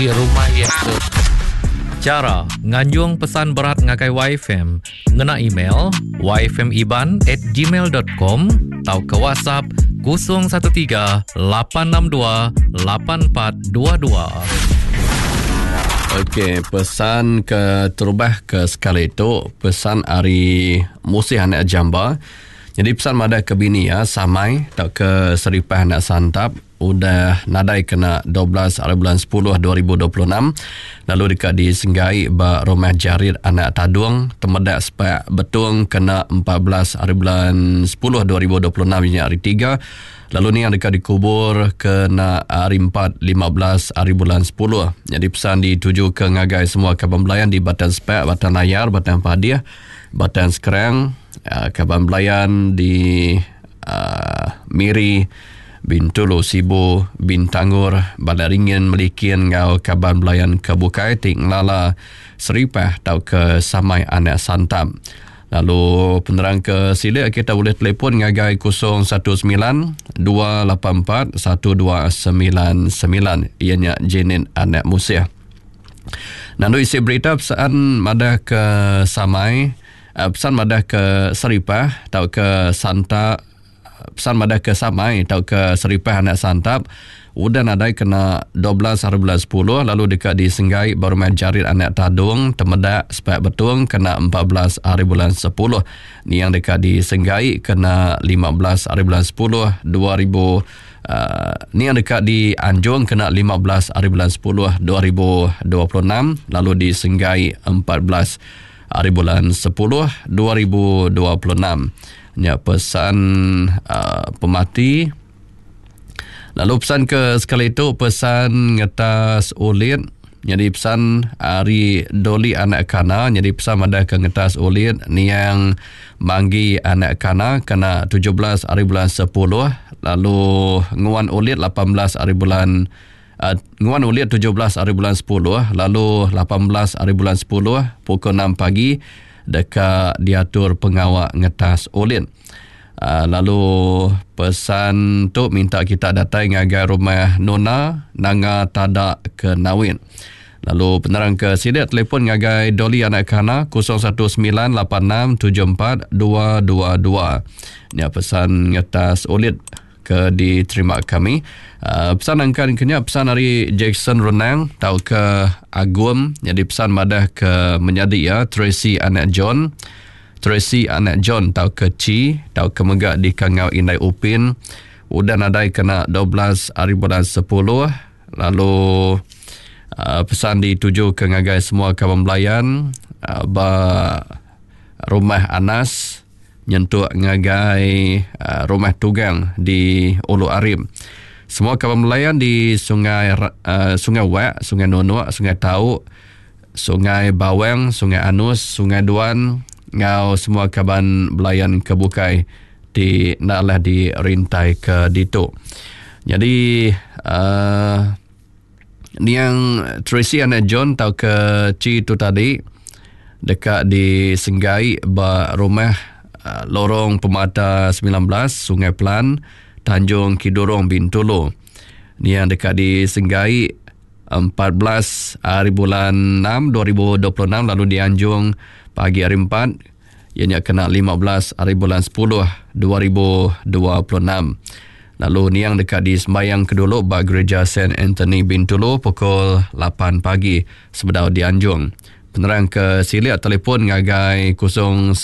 Rumah iya tu. Chara nganjung pesan berat ngagai YFM ngena email yfmiban at gmail dot com tauka WhatsApp 013 862 8422. Okey, pesan ke terubah ke sekali tu pesan ari Musih anak Jamba. Jadi pesan madah ke bini iya Samai tauka Seripah anak Santap udah nadai kena 12 hari bulan 10 2026 lalu deka disenggai ba Rumah Jarit Anak Tadung Temedak Sepak Betong kena 14 hari bulan 10 2026 nya hari tiga lalu ni yang deka dikubur kena hari 4 15 hari bulan 10. Jadi pesan dituju ke ngagai semua kaban belayan di Batang Sepak, Batang Layar, Batang Padih, Batang Skrang, eh, kaban belayan di Miri, Bintulu, Sibu, Bintangor, Balai Ringin, Melikin enggau kaban belayan ke bukai ti ngelala Seripah tauka Samai Anak Santap. Lalu penerang ke silik kita ulih telefon ngagai 019 284 1299 iya nya Janet Anak Musih. Nandu isi berita pesan madah ke Samai Pesan madah ke Seripah tauka Santa Pesan madah ke Samai tauka Seripah anak Santap udah nadai kena 12 hari bulan 10 lalu deka disenggai ba rumah Jarit anak Tadung Temedak Sepak Betong kena 14 hari bulan 10 niang deka disenggai kena 15 hari bulan 10 2000 uh, niang deka dianjung kena 15 hari bulan 10 2026 lalu disenggai 14 Ari bulan sepuluh 2026 nya pesan uh, pemati. Lalu pesan ke sekali tu pesan ngetas ulit nyadi pesan ari Doli anak Kana nyadi pesan madah ke ngetas ulit niang Manggi anak Kana kena 17 ari bulan 10 lalu nguan ulit 18 ari bulan Nguan ulit 17 ari bulan 10 lalu 18 ari bulan 10 pukul 6 pagi deka diatur pengawa ngetas ulit. Lalu pesan tu minta kita datai ngagai rumah Nona Nanga Tada ke Nawin. Lalu penerang ke silik telefon ngagai Dolly anak Kana 0198674222. Nya pesan ngetas ulit ke diterima kami. Uh, pesan angkan ke nya pesan ari Jackson Renang tauka Agum nyadi pesan madah ke menyadi iya Tracy anak John. Tracy anak John tauka Chi tauka mega dikangau Indai Upin udah nadai kena 12 hari bulan 10 lalu uh, pesan dituju ke ngagai semua kaban belayan uh, ba rumah Anas nyentuk ngagai Rumah Tugang di Ulu Arim. Semua kaban belayan di Sungai Sungai Wak, Sungai Nunuk, Sungai Tau, Sungai Bawang, Sungai Anus, Sungai Duan enggau semua kaban belayan ke bukai ti enda alah dirintai ke ditu. Nyadi uhh niang Tracy anak John tauka Chi tu tadi deka disenggai ba rumah Lorong Pemata 19 Sungai Pelan, Tanjung Kidurong Bintulu. Niang deka disenggai 14 hari bulan 6 2026 lalu dianjung pagi hari 4 iya nya kena 15 hari bulan 10 2026. Lalu niang deka disembayang ke dulu ba Gereja Saint Anthony Bintulu pukul 8 pagi sebedau dianjung. Penerang ke silik telefon ngagai 019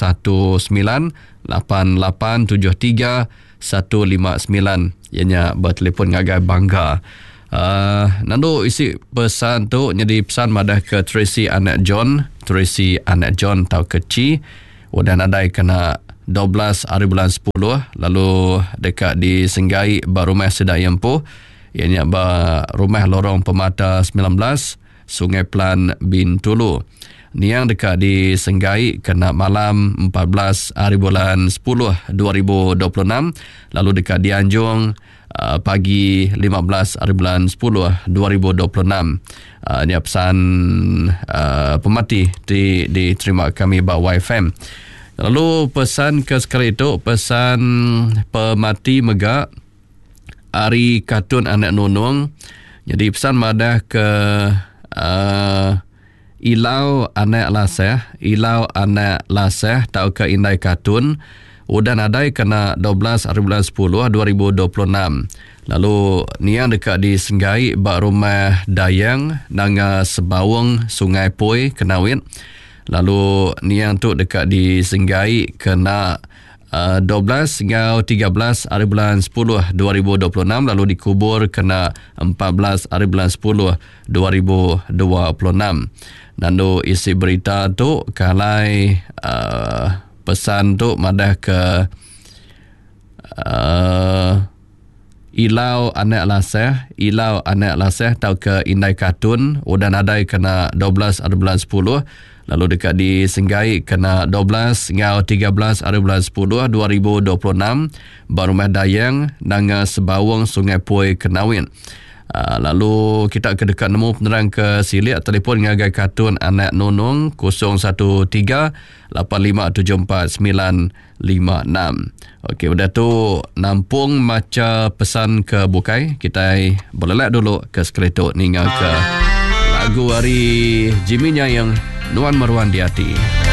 8873 159 iya nya betelefon ngagai Bangga. Uh, nandu isi pesan tu nyadi pesan madah ke Tracy anak John, Tracy anak John tauka Chi udah nadai kena 12 hari bulan 10 lalu deka disenggai ba rumah sida iya empu iya nya ba rumah Lorong Pemata 19 Sungai Pelan Bintulu. Niang deka disenggai kena malam 14 hari bulan 10 2026 lalu deka dianjung uh, pagi 15 hari bulan 10 2026. Uh, nya pesan uh, pemati ti diterima kami ba YFM. Lalu pesan ke sekali tu pesan pemati mega ari Katun Anak Nunung. Nyadi pesan madah ke uh, Ilau anak Laseh, Ilau anak Laseh tauka Indai Katun udah nadai kena 12 hari bulan 10 2026 lalu niang deka disenggai ba Rumah Dayang Nanga Sebaung Sungai Poi Kenawit lalu niang tu deka disenggai kena 12 enggau 13 hari bulan 10 2026 lalu dikubur kena 14 hari bulan 10 2026. Nandu isi berita tu ke alai uh, pesan tu madah ke uh, Ilau anak Laseh, Ilau anak Laseh tauka Indai Katun udah nadai kena 12 hari bulan 10 lalu deka disenggai kena 12 enggau 13 hari bulan 10 2026 ba Rumah Dayang Nanga Sebaung Sungai Poi Kenawit. Ah, lalu kita ke deka nemu penerang ke silik telefon ngagai Katun Anak Nunung 013 8574 956. Okey, udah tu nampung macha pesan ke bukai kitai belelak dulu ke sekali tu ninga ke lagu ari Jimmy Nyayang Nuan Meruan Di Ati.